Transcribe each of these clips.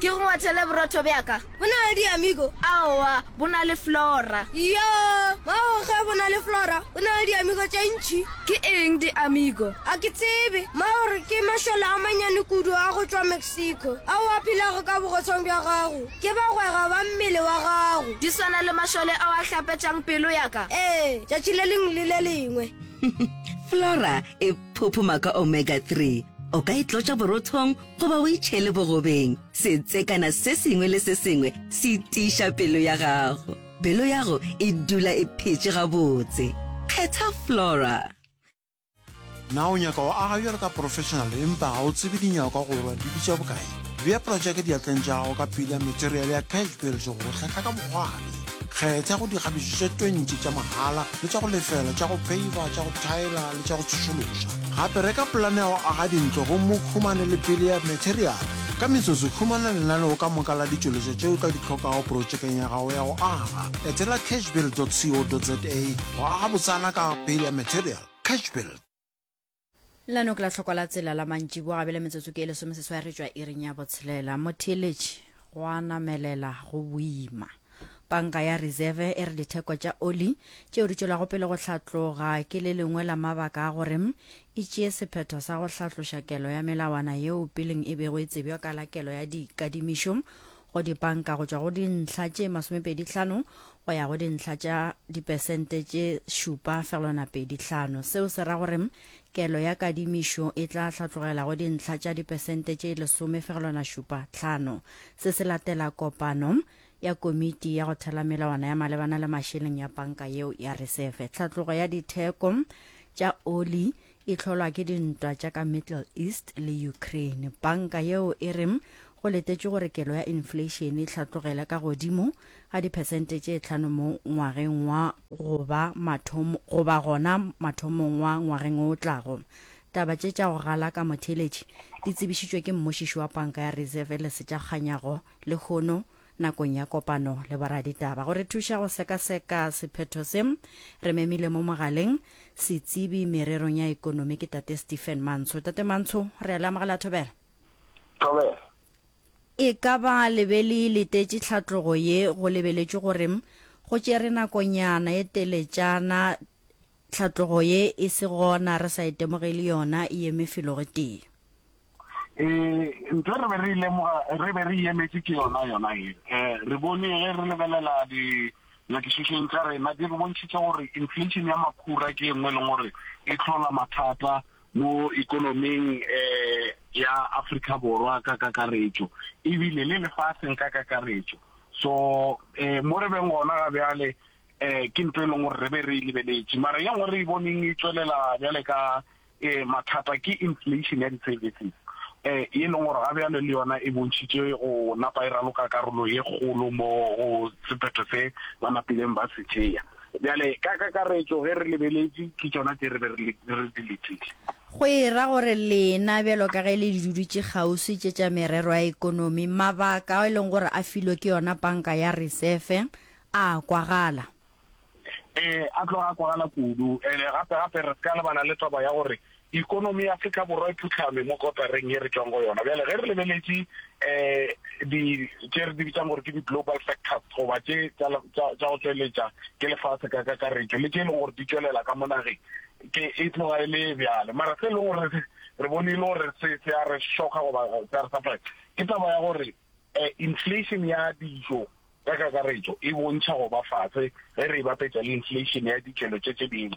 Ke go ngwathele borotho bja ka. Bo na le diamigo? Aowa, bo na le Flora. Yoo, Mmago ge bo na le Flora, bo na le diamigo tše ntši. Ke eng diamigo? A ke tsebe. Mmago re ke mašole a manyane kudu a go tšwa Mexico ao a phelago ka bogotsong bja gago. Ke bagwera ba mmele wa gago. Di swana le mašole ao a hlapetšang pelo ya ka. Ee, tšatši le lengwe le le lengwe. Flora e phophoma ka omega 3. O ka e tlotša borothong goba o e tšhele bogobeng. Setsekana se sengwe le se sengwe se tiiša pelo ya gago. Pelo yago e dula e phetše gabotse. Kgetha Flora. Na o nyaka go aga bjalo ka professional empa ga o tsebe dinyakwa gore di bitša bokae? Bea projeke diatleng tša gago ka pila material ya Cash Build go go hlahla ka bokgwari. Kgetha go dikgabišo tše 20 tša mahala le tša go lefela tša go peiva, tša go thaela le tša go tsošološa. Gape reka polane ya go aga dintlo gomme o humane le pele ya material. Ka metsotso, humana lenaneo ka moka la ditšweletšwa tše o tla di hlokago projekeng ya gago ya go aga. Etela cashbuild.co.za go aga botsana ka pele ya material. Cashbuild. Lenaneo ke la tlhokwa la tsela la mantšiboa gabele metsotso ke e lesomeseswai re tšwa iring ya botshelela. Motheeletši go a namelela go boima. Panka ya Reserve e re ditheko tša oli tšeo di tšwelago pele go hlatloga ke le lengwe la mabaka a gore e tšee sephetho sa go hlatloša kelo ya melawana yeo peleng e bego e tsebjwa ka la kelo ya dikadimišo go dipanka go tšwa go dintlha tše masomepedihlano go ya go dintlha tša dipesente tše 7,25. Seo se ra gore kelo ya kadimišo e tla hlatlogela go dintlha tša dipesente tše 10,75. Se se latela kopano ya komiti ya go thela melawana ya malebana le mašeleng ya panka yeo ya Resefe. Tlhatlogo ya ditheko tša oli e hlolwa ke dintwa tša ka Middle East le Ukraine. Panka yeo e re go letetšwe gore kelo ya inflation e hlatlogele ka godimo ga diphesente tše tlhano mo ngwageng wa goba mathomo goba gona mathomong wa ngwageng o tlago. Taba tše tša go galaka motheeletši di tsebišitšwe ke mmušiši wa panka ya Reserve Lesetša Kganyago lehono nakong ya kopano le boraditaba. Go re thuša go sekaseka sephetho se, re memile mo mogaleng setsebi mererong ya ekonomi ke Tate Stephen Mantsho. Tate Mantsho, re a le amogela thobela. Thobela. E ka ba le be le letetše tlhatlogo ye go lebeletšwe gore go tšere nakonyana e teletšana tlhatlogo ye e se gona re sa itemogele yona e eme felo gotee? Ee, ntho e re be re e lemoga, re be re e emetše ke yona yona ye. Eh, re bone ge re lebelela dinyakišišong tša rena di re bontšhitše gore inflation ya makhura ke e nngwe e leng gore e hlola mathata mo ikonoming eh, ya Afrika Borwa ka kakaretšo ebile le lefaseng ka kakaretšo. So eh, mo re beng gona ga bjale eh, ke ntho e leng gore re be re e lebeletše, mara ye nngwe re e boneng e tšwelela bjale ka Ee, mathata ke inflation ya di-services um ye leng gore ga bjale le yona e bontšhitše go napa e raloka karolo ye kgolo mo go sephetho se ba napileng ba se tšea. Bjale ka kakaretšo ge re lebeletše ke tšona tše re be re di letile. Go e ra gore lena bjalo ka ge le di dudutše kgauswi tše tša merero ya ekonomi, mabaka ao e leng gore a filwe ke yona panka ya Resefe a a kwagala. Ee, a tloga a kwagala kudu. Ene gape gape re se ka lebala le taba ya gore ikonomi ya Afrika Borwa e phuhlame mo kotareng ye re tšwang go yona. Bjale ge re lebeletše um di tše re di bitsang gore ke di-global factors goba tše tša go tšweletša ke lefase ka kakaretšo le tše e leng gore di tšwelela ka mo nageng ke e tloga e le bjale. Mara se e leng gore re bone e le gore se se a re šoka goba se a re surprise ke taba ya gore um inflation ya dijo Ka kakaretšo, e bontšha go ba fase ge re e bapetša le inflation ya dikelo tše tše dingwe,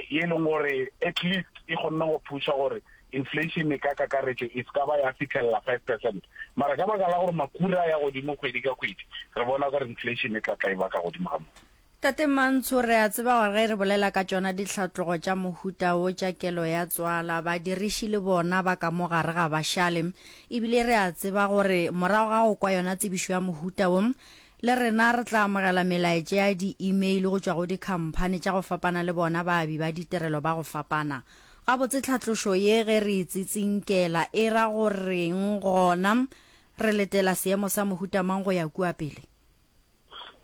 ye e leng gore at least e kgonne go thuša gore inflation ka kakaretšo e se ka ba ya fihlelela 5%. Mara ka baka la gore makhura a ya godimo kgwedi ka kgwedi, re bona gore inflation e tla tla e ba ka godimo ga moo. Tate Mantsho, re a tseba gore ge re bolela ka tšona ditlhatlogo tša mohuta wo tša kelo ya tswala, badiriši le bona ba ka mo gare ga ba šale. E bile re a tseba gore morago ga go kwa yona tsebišo ya mohuta wo, le rena re tla amogela melaetša ya di-email go tšwa go dikhamphani tša go fapana le bona baabi ba ditirelo ba go fapana. Gabotse tlhatlošo ye ge re e tsitsinkela e ra go reng gona re letela seemo sa mohuta mang go ya kua pele?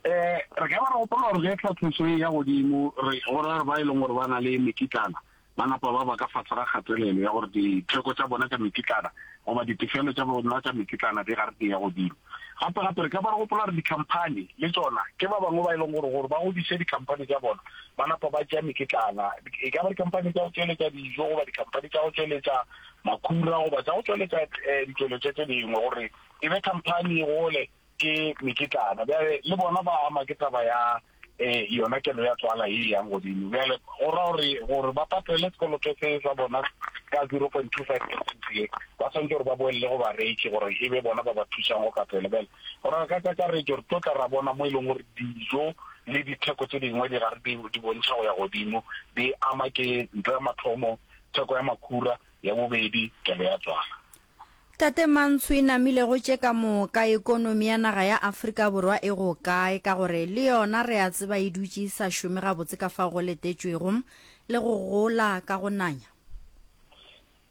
Eh, re ka ba re gopola gore ge tlhatlošo e ya godimo, re go ra gore ba e leng gore ba na le mekitlana. ba napa ba ba ka fase ga kgatelelo ya gore ditheko tša bona tša mekitlana goba ditefelo tša bona tša mekitlana di gare di ya godimo. Gape gape re ka ba re gopola gore dikhamphani le tšona ke ba bangwe ba e leng gore gore ba godiše dikhamphani tša bona ba napa ba tšea mekitlana, e ka ba dikhamphani tša go tšweletša dijo goba dikhamphani tša go tšweletša makhura goba tša go tšweletša ditšweletšwa tše dingwe gore e be khamphani e gole ke mekitlana. Bjale le bona ba ama ke taba ya um yona kelo ya tswala ye e yang godimo. Bjale go ra gore gore ba patele sekoloto se sa bona ka 0.25 percent ye, ba swanetše gore ba boelele go bareki gore e be bona ba ba thušang go patela. Bjale go ra ka kakaretšo re tlo tla ra bona mo e leng gore dijo le ditheko tše dingwe di gare di di bontšha go ya godimo, di ama ke ntho ya mathomo theko ya makhura, ya bobedi kelo ya tswala. Tate Mantsho e namile go tše ka moka ekonomi ya naga ya Afrika Borwa e go kae ka gore le yona re a tseba e dutše e sa šome gabotse ka fao go letetšwego le go gola ka go nanya?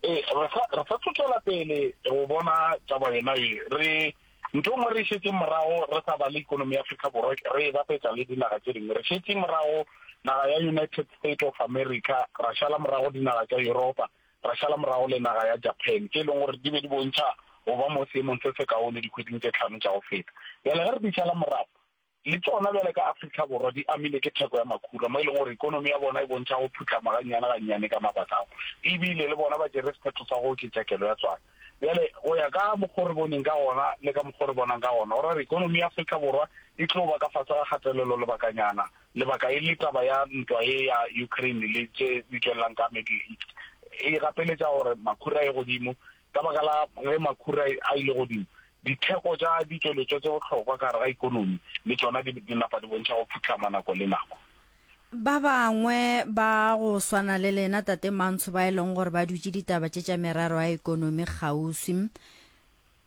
Ee, re sa re sa tlo tšwela pele go bona taba yona ye. Re ntho e nngwe re e šetšeng morago re sa bale ikonomi ya Afrika Borwa re e bapetša le dinaga tše dingwe. Re šetše morago naga ya United State of America, ra šala morago dinaga tša Yuropa, ra šala morago le naga ya Japan, tše e leng gore di be di bontšha go ba mo seemong se sekaone dikgweding tše tlhano tša go feta. Bjale ge re di šala morago, le tšona bjale ka Afrika Borwa di amilwe ke theko ya makhura, mo e leng gore ikonomi ya bona e bontšha go phuhlama gannyane gannyane ka mabaka ao, e bile le bona ba tšere sephetho sa go oketša kelo ya tswalo. Bjale go ya ka mokgo re boneng ka gona le ka mokgo re bonang ka gona, go ra gore ikonomi ya Afrika Borwa e tlo ba ka fase ga kgatelelo lebakanyana, Lebaka e le taba ya ntwa ye ya Ukraine le tše di tšwelelang ka Middle East e gapeletša gore makhura a ye godimo. Ka baka la ge makhura a ile godimo, ditheko tša ditšweletšwa tše bohlokwa ka gare ga ikonomi le tšona di di napa di bontšha go phuhlama nako le nako. Ba bangwe ba go swana le lena Tate Mantsho ba e leng gore ba dutše ditaba tše tša merero ya ikonomi kgauswi,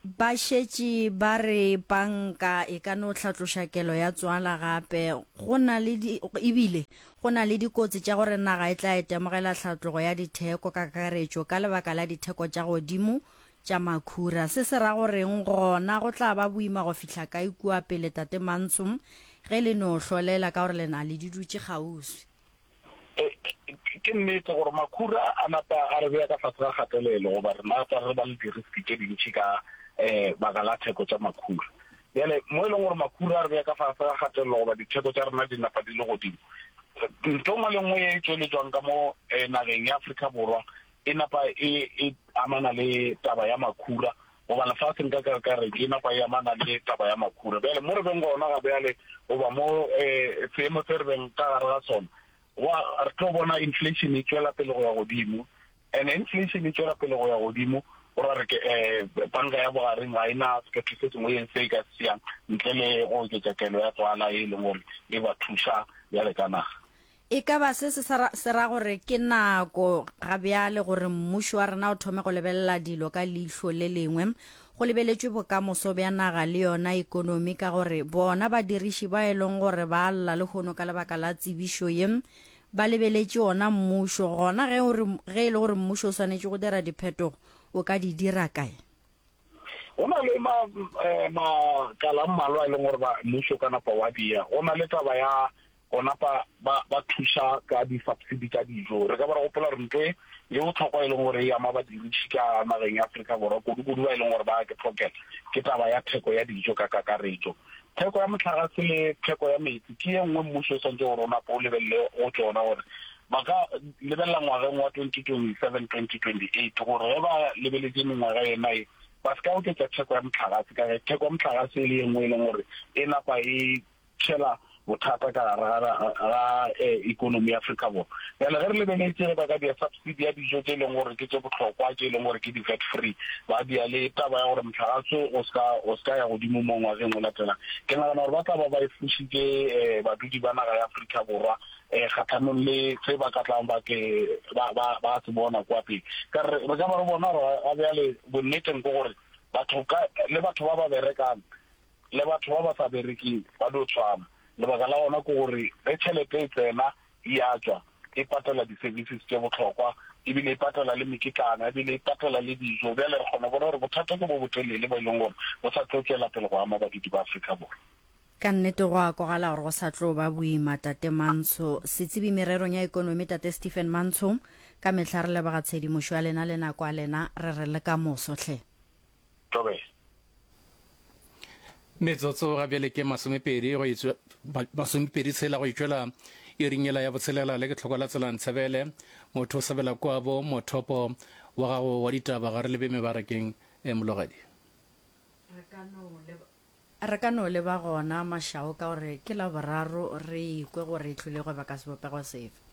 Ba šetše ba re panka e ka no hlatloša kelo ya tswala gape go na le di, ebile go na le dikotsi tša gore naga e tla itemogela hlatlogo ya ditheko ka kakaretšo ka lebaka la ditheko tša godimo tša makhura. Se se ra goreng gona go tla ba boima go fihla kae kua pele Tate Mantsho ge le no hlolela ka gore le na le di dutše kgauswi? Ke nnete gore makhura a napa a re bea ka fase ga kgatelelo goba re napa re ba le di-risk tše dintši ka baka la theko tša makhura. Bjale mo e leng gore makhura a re bea ka fase ga kgatelelo goba ditheko tša rena di napa di le godimo, ntho nngwe le nngwe ye e tšweletšwang ka mo nageng ya Afrika Borwa e napa e e amana le taba ya makhura goba lefaseng ka kakaretšo e napa e amana le taba ya makhura. Bjale mo re beng gona ga bjale goba mo um seemo se re beng ka gare ga sona, gwa re tlo bona inflation e tšwela pele go ya godimo, and inflation e tšwela pele go ya godimo go ra re ke um banka ya bogareng ga e na sephetho se sengwe se e ka se tšeang ntle le go oketša kelo ya tswala e leng gore e ba thuša bjale ka naga. E ka ba se se se ra gore ke nako ga bjale gore mmušo wa rena o thome go lebelela dilo ka leihlo le lengwe, go lebeletšwe bokamoso bja naga le yona ekonomi ka gore bona badiriši ba e leng gore ba lla lehono ka lebaka la tsebišo ye ba lebeletše ona mmušo. Gona ge o re ge e le gore mmušo o swanetše go dira diphetogo o ka di dira kae? Go na le ma, eh, makala a mmalwa e leng gore ba mmušo ka napa wa dia. Go na le taba ya go napa ba, ba thuša ka di-subsidy tša dijo. Re ka ba ra gopola gore ntho e ye bohlokwa e leng gore e ama badiriši ka nageng ya Afrika Borwa, kudu-kudu ba e leng gore ba ke tlhokela, ke taba ya theko ya dijo ka kakaretšo. Theko ya mohlagase le theko ya meetse ke ye nngwe mmušo o swanetše gore o nape o lebelele go tšona gore ba ka lebelela ngwageng wa 2027, 2028 gore ge ba lebeletše mengwaga yena ye ba se ka oketša theko ya mohlagase ka ge theko ya mohlagase e le ye nngwe e leng gore e napa e tšhela bothata ka gare ga ga ikonomi ya Afrika Borwa. Bjale ge re lebeletše ge ba ka dia subsidy ya dijo tše e leng gore ke tše bohlokwa tše e leng gore ke di-VAT free, ba dia le taba ya gore mohlagase o ska o ska ya godimo mo ngwageng o latelang, ke nagana gore ba tla ba ba efošitše badudi ba naga ya Afrika Borwa kgahlanong le se ba ka tlang ba ke ba ba ba se bona kwa pele. Ka re re ka ba re bona gore ga bjale bonneteng ke gore batho ka le batho ba ba berekang le batho ba ba sa berekeng ba dio tshwana. Lebaka la gona ke gore ge tšhelete e tsena e a tšwa, e patela di-services tše bohlokwa, ebile e patela le mekitlana, ebile e patela le dijo. Bjale re kgona go bona gore bothata ke bo botelele bo e leng gore bo sa tlo tšwela pele go ama badudi ba Afrika Borwa. Ka nnete go a kwagala gore go sa tlo ba boima, Tate Mantsho. Setsebi mererong ya ekonomi, Tate Stephen Mantsho, Ka mehla re leboga tshedimošo ya lena le nako ya lena, re re le ka moso hle. Thobela. Metsotso ga bjale ke masomepedi go etswa masomepedi tshela go itšwela iring yela ya botshelela le ke tlhoko la tsela ntshebele motho o sebela kwabo mothopo wa gago wa ditaba ga re lebe mebarakeng e mologadi. Re ka no leba Re ka no leba gona Mashao ka gore ke Laboraro re ikwe gore e tlile go ba ka sebopego sefe.